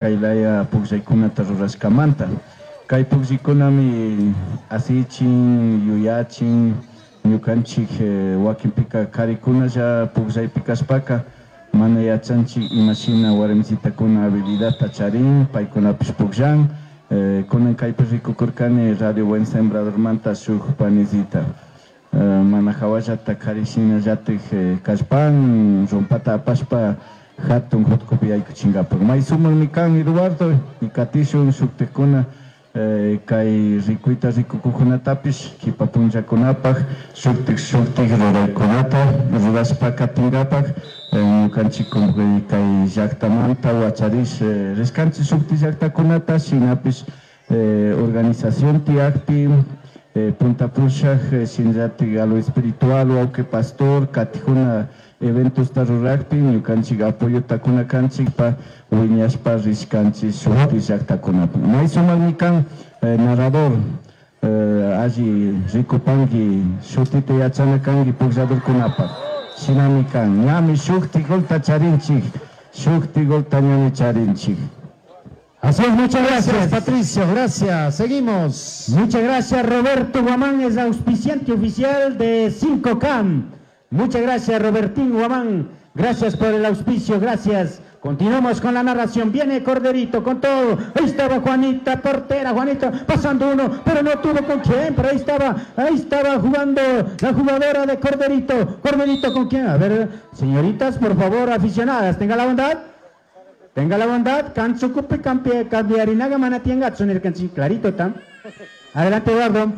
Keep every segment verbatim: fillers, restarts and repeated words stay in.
Kay laya pukllaykunata rurashkamanta. Kay pukllaykunami asichin, yuyachin, ñukanchik wakinpika karikunalla pukllaypi kashpaka mana yachanchik imashina warmisitakuna habilidadta charin, paykunapish pukllan. Kunan kaypi rikukurkani Radio Buen Sembradormanta shuk panisita. Mana hawallata kari shinallatik kallpan rumpata apashpa hatun hutkupi yaykuchinkapak. May sumakmi kan Eduardo y katishun shuktikuna kay rikuyta rikukukunatapish kipa punllakunapak shuktik shuktik ruraykunata rurashpa katinkapak ñukanchik kay llaktamanta wacharish rishkanchik shuktik llaktakunata shinapish organización tiyakpi punta pushak shinallatik a lo espiritual wawki pastor katijuna eventosta rurakpi ñukanchik apoyota kuna kanchikpa wiñashpa rishkanchik shuktik llaktakunapi. May sumakmi kan narrador alli rikupanki shutita yachana kanki puklladorkunapak shinami kan ñami shuktik golta charinchik shuktik golta ñami charinchik. Así es, muchas gracias. Gracias, Patricio, gracias. Seguimos. Muchas gracias, Roberto Guamán, es auspiciante oficial de cinco Cam. Muchas gracias, Robertín Guamán. Gracias por el auspicio, gracias. Continuamos con la narración. Viene Corderito con todo. Ahí estaba Juanita, portera, Juanita, pasando uno, pero no tuvo con quién. Pero ahí estaba, ahí estaba jugando la jugadora de Corderito. Corderito con quién. A ver, señoritas, por favor, aficionadas, tenga la bondad. Tenga la bondad, Kanchukupi campia, cambiarinaga manatienga, tsunir kanchi, clarito tam. Adelante, Eduardo.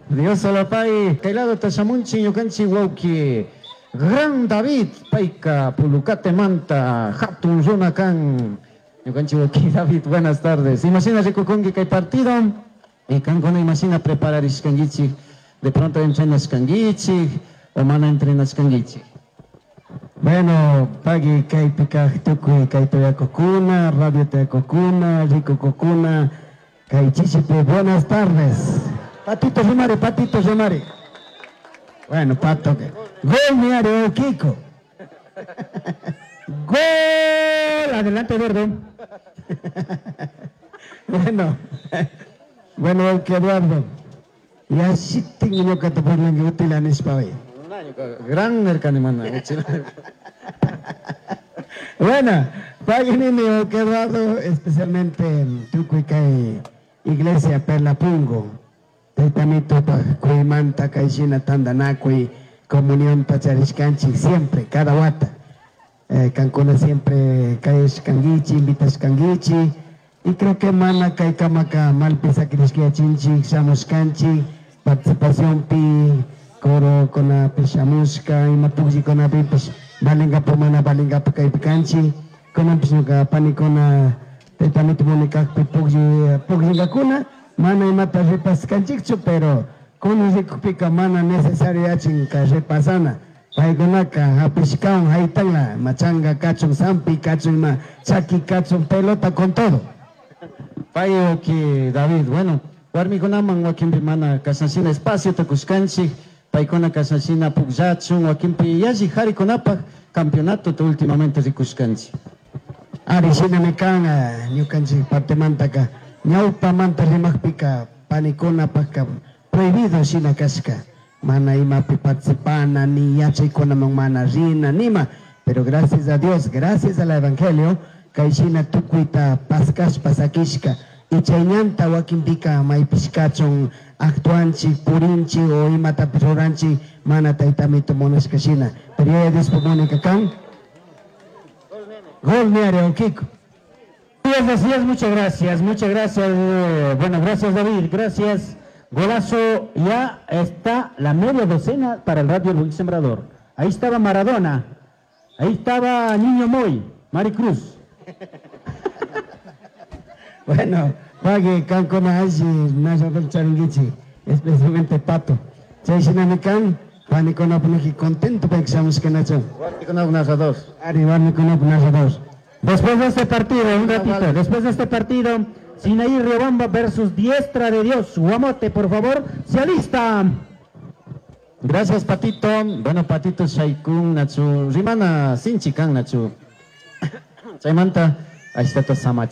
Dios salapay, kailado tashamunchi, ñukanchi wauki. Gran David, paika, pulucate manta, hatun runa kan. Ñukanchi wauki David, buenas tardes. Imagina rikukunki kay partido, y kankuna imagina prepararishkankichik, de pronto entrenashkankichik, o mana entrenashkankichik. Bueno, pagui kaypi kaq tukuy kay toyakukuna, radio toyakukuna, rikukukuna, kay chishipi, buenas tardes. Patito Rimari, Patito Rimari. Bueno, Pato, que gol mi área, Kiko. Gol! Adelante, Eduardo. Bueno, bueno, que Eduardo. Ya sí tengo que te ponen que útil en España. Gran mercanimana. Bueno, paguen que Eduardo, especialmente tukuy kay Iglesia Perla Pungo. Taytamito kuymanta kayshina tandanakuy comunión tacharishkanchik siempre, cada wata. Eh, kankuna siempre kayashkankichik, invitashkankichik. Y creo que mana kay kamaka malpi sakirishkayachinchik, shamushkanchik, participación pi, coro con pishamushka, ima pukllikunapipis, valingapu mana valingapu kaypi kanchik. Kunanpis ñuka panikuna taytamito munikakpi puklli, pukllingakuna, mana imata repaskanchikchu, pero kunan rikukpika mana necesario yachin ka repasana. Paykunaka hapishkawan haytanla, machanga kachun, sampi kachun, ima chaki kachun, pelota con todo. Payo ki David, bueno, warmikunaman wakinpi mana kashanshina espacio tukushkanchik, paykuna kashanshina pukllachun, wakinpi yalli harikunapaj campeonato ta últimamente rikushkanchik. Ari shinami kan, ñukanchik partemantaka, ñawpamanta rimaqpika panikunapajka prohibido shina kashka, mana imapi participana, ni yachaykunaman mana rina, nima, pero gracias a Dios, gracias al Evangelio, kay shina tukuyta paskashpa sakishka, y chay ñanta wakinpika maypishkachun actuanchik, purinchik o imatapish ruranchik, mana taytamito munashka shina, pero yaya Diospa munika kan. Gol mi área, Kiko. Así es, muchas gracias, muchas gracias. Eh, bueno, gracias David, gracias. Golazo, ya está la media docena para el Radio Luis Sembrador. Ahí estaba Maradona, ahí estaba Niño Moy, Maricruz. Bueno, pague kankuna alli narrador charinguichi, especialmente Pato. Chay shinami kan, panikuna punaki contento pa que nacho. Warmikuna narrador. Ari, warmikuna narrador. Después de este partido, un ratito, después de este partido, Sinaí Riobamba versus Diestra de Dios. Guamote, por favor, se alista. Gracias, Patito. Bueno, Patito, Shaikun, Nachu, Rimana, Sinchi, Kan, Nachu. Chaymanta, Ashtata samach.